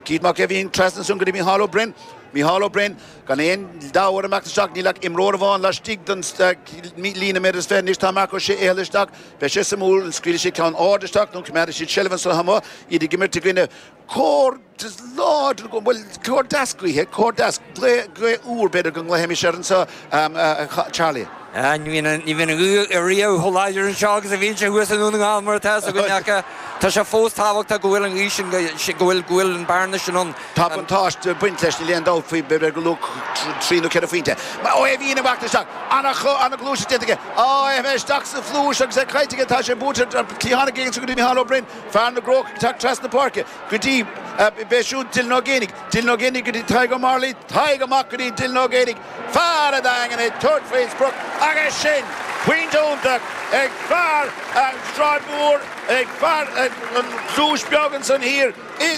Keith Mac Eimhín trasna ansan go dtí Micheál Ó Broin. Micheál Ó Broin, gan aon dabht air imeacht isteach, níl ach imreoir amháin laistigh den líne méadar is 20 anois, tá Marc Ó Sé éalaithe isteach, beidh sé suimiúil an scaoilfidh siad ceann ard isteach nó coimeádfaidh siad seilbh anso amuigh, iad ag imirt i gcoinne cór láidir, bhuel, cór deas gaoithe, cór deas, gaoth úr b'fhéidir go nglaofaimís air anso, Charlie. Ní bhíonn an ghaoth ariamh chomh láidir anseo agus a bhíonn sé thuas i nDún na nGall mar atá fhios againn ach tá sé fós tábhachtach go bhfuil an ghaoth sin, go bhfuil, go bhfuil an bearna sin ann. Tá buntáiste ag baint leis, níl aon dabht faoi, b'fhéidir gur luach 3 nó 4 phointe. Ó Eimhín ag imeacht isteach, an-ghluaiseacht déanta aige, á é isteach sa phluais agus é caillte aige, tá sé buaite ar cliathán aige go dtí Micheál Ó Broin, fear na gCrócach ag teacht trasna na páirce go dtí, b'é siúd Dylan Ó Géibheannaigh, Dylan Ó Géibheannaigh go dtí Tadhg Ó Mairlí, Tadhg amach go dtí Dylan Ó Géibheannaigh. Fear an Daingin ag tabhairt faoin sprioc agus sin pointe iontach ag fear an tSráid Mhór, ag fear an Chluais Bheag ansan thiar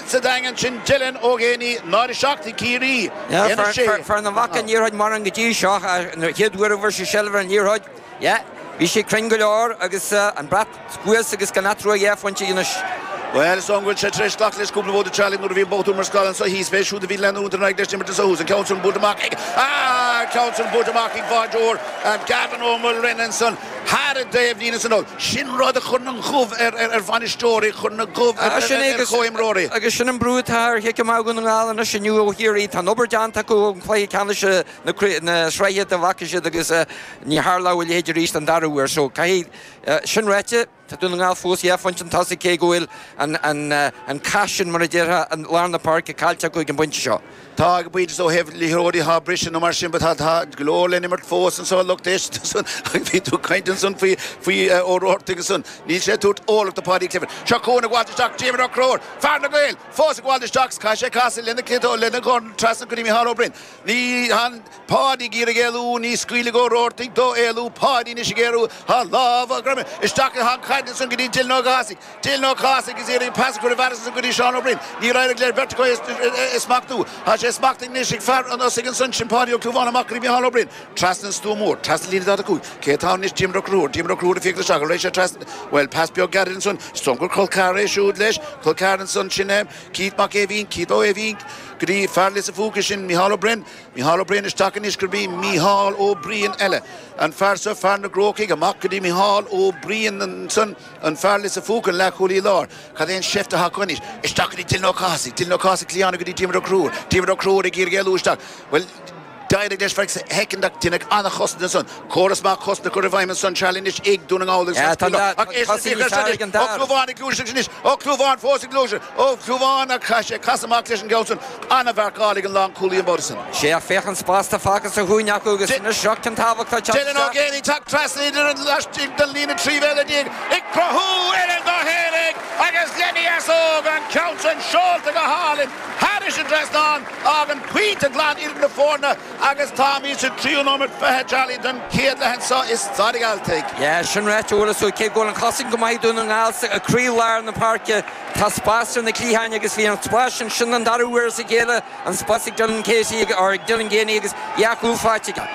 sa Daingean, sin Dylan Ó Géibheannaigh, 0-7 ag Ciarraí, 1-6. Fear nach bhfaca an liathróid mórán go dtí seo, an chéad uair a bhfuair sé seilbh ar an liathróid, yeah, bhí sé cruinn go leor agus an brat thuas agus gan eatarthu ach dhá phointe anois. Bhuel, is dóigh go bhfuil sé tar éis glacadh leis cúpla babhta Charlie nuair a bhí an botún mar scáil anso thíos. B'é siúd a bhí leanúint ar aghaidh leis an imirt anso thuas. An ceann san buailte amach ag, ah, an ceann san buailte amach ag báideoir Gavin Ó Maoilrein ansan thar an dtaobhlíne san anall. Sin rud a chuireann an gomh ar, ar, ar bhainisteoirí, a chuireann an gomh ar, ar, ar chomhimreoirí. Agus sin an brú atá ar chic amach Dhún na nGall anois inniu ó Chiarraí. Tá an obair déanta acu ón chluiche ceannais na, na sraithe dá bhfaca siad agus ní tharlódh a leithéid arís an dara huair. So caithfidh, sin ráite, tá Dún na nGall fós dhá phointe chun tosaigh cé go bhfuil an cath sin, mar a déarfá, i lár na páirce caillte acu ag an bpointe seo. Tá ag an bpointe seo ó thaobh liathróidí atá briseadh nó mar sin but tá go leor le n-imirt fós anso lucht éisteachta ansan agus bhí tú ag caint ansan faoi faoi Ó Roartaigh ansan. Níl sé ag tabhairt orlach do Paudie Clifford. Seo chugainn ag gabháilt isteach Diarmuid Ó Conchúir, fear na Gael, fós ag gabháilt isteach 's caithfidh sé casadh lena chliatán lena dhorn trasna go dtí Micheál Ó Broin. Ní han Páidí ag iarraidh éalú, ní scaoilfidh Ó Roartaigh dó éalú, Páidí anois ag éalú, tá lámh á greamú isteach i an chaid ansan go dtí Dylan Ó Cathasaigh, Dylan Ó Cathasaigh agus iarraidh pas a chur i bhfearas ansan go dtí Seán Ó Broin, níor éirigh le beirt acu é a smachtú, tá sé smachtaithe anois ag fear an Osaigh ansan, sin Páidí Ó Clúmháin amach go dtí Micheál Ó Broin, trasna an stua mór, trasna líne 45, cé atá ann anois, Diarmuid Ó Conchúir, Diarmuid Ó Conchúir ag féachaint isteach, an raghaidh sé trasna, bhuel, pas beag gairid ansan, is dóigh gur col ceathrar é siúd leis, col ceathrar ansan, sin é Keith Mac Aoibhín, Keith Ó Aoibhín, Go dtí fear Lios a' Phúca sin, Micheál Ó Broin. Micheál Ó Briain isteach anois gurb í Micheál Ó Briain eile. An fear seo, fear na gCrócaigh, amach go dtí Micheál Ó Briain ansan, an fear Lios a' Phúca, an leathchúlaí láir. Cad é an seift atá acu anois? Isteach go dtí Dylan Ó Cathasaigh. Dylan Ó Cathasaigh cliatháin go dtí Diarmuid Ó Conchúir. Diarmuid Ó Conchúir ag iarraidh éalú isteach. Bhuel, d'éirigh leis feadh soicind ach deineadh an-chosaint ansan. Córas maith cosanta curtha i bhfeidhm ansan, Charlie anois ag Dún na nGall agus an scaoileadh ach é sin féach air sin anois, Ó Clúmháin ag gluaiseacht anois, Ó Clúmháin fós ag gluaiseacht, Ó Clúmháin ach chaith sé casadh amach leis an gceann san. An-mharcáil ag an lánchúlaí an babhta san. Sea, féach an spás atá fágtha sa chúinne acu agus anois seo ceann tábhachtach ag teacht Dylan Ó isteach. Géibheannaigh ag teacht trasna idir an laistigh den líne 13 mhéadar ag cruthú eile dó fhéinig agus Lenny Easóg an ceann san seolta go hálainn thairis an trasnán. Fágann pointe glan idir na foirne agus táimid sa tríú nóiméad 20, Charlie, den chéad leath anseo i Staid an Ghealtaigh. Yeah, sin ráite, bhuel, is cé go bhfuil an chosaint go maith ag Dún na nGall sa croílár na páirce, tá spás ar na cliatháin agus bhí an spás sin, sin an dara huair as a chéile an spás ag Dylan Casey or ag Dylan Geaney agus dhá chúl faighte aige.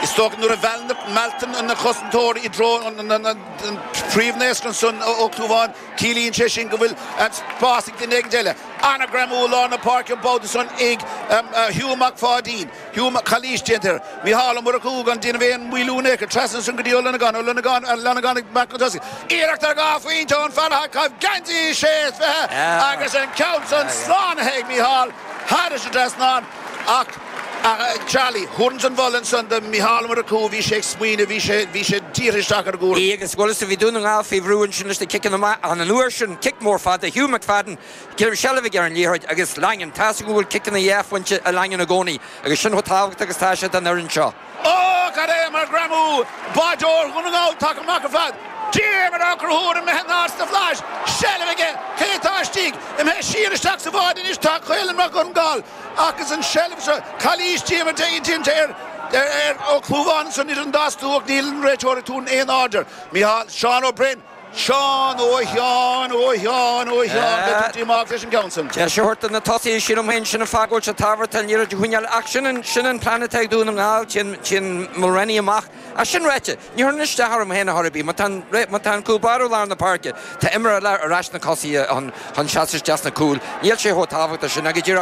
Is dócha nuair a mhealltar na cosantóirí i dtreo an phríomhnaoscra ansan Ó Clúmháin, ciallaíonn sé sin go bhfuil spás ag duine éigin eile. An-ghreamú i lár na páirce an babhta san ag Hugh Mac Pháidín. Hugh Mac Calaois déanta air. Micheál Ó Murchú gan déanamh aon mhoilliú in aon chor. Trasna ansan go dtí Ó Longáin. Ó Longáin, Longáin ag imeacht chun tosaigh. Iarracht ar dhá phointe ón fear atá ag caitheamh geansaí 26 agus an ceann san slánaithe ag Micheál thairis an trasnán ach Charlie, thabharfainnse an moladh ansan do Mhicheál Ó Murchú, bhí sé ag smaoineamh, bhí sé, bhí sé dírithe isteach ar an gcúram. Agus bhuel is bhí Dún na nGall faoi bhrú ansin leis na ciceanna amach ach an uair sin, cic mór fada, Hugh McFadden, Seilbh aige ar an liathróid agus Langan, tá's agam go bhfuil ciceanna dhá phointe ag Langan i gcónaí agus sin chomh tábhachtach agus atá sé don fhoireann seo. Ó, cad é mar ghreamú! Báideoir Dhún na nGall tagtha amach ar fad. Diarmuid Ó Conchúir imithe in airde sna flaithis. Seilbh aige. Cé atá istigh? Imithe siar isteach sa bháide anois tá Caolán Mac Congáil agus an tseilbh seo. Calaois Diarmuid déanta ar ar Ó Clúmháin ansan idir an dá stua ach níl an réiteoir ag tabhairt aon aird air. Micheál, Seán Ó Broin. Seán, ó a Sheáin, ó a Sheáin, ó a Sheáin, beidh tú díomách leis an gceann san. Deis a thabhairt do na tosaithe, sílim féin, sin an fáth go bhfuil sé tábhachtach an liathróid a choinneáil ach sin an, sin an plean atá ag Dún na nGall, téann, téann Mulraney amach. Ach sin ráite, ní chuireann isteach orm féin a chor ar bith, má tá an, má tá an cúl báire i lár na páirce, tá imreoir eile ar ais sna cosaithe chun, chun seasamh isteach sna cúil, níl sé chomh tábhachtach sin ach go díreach.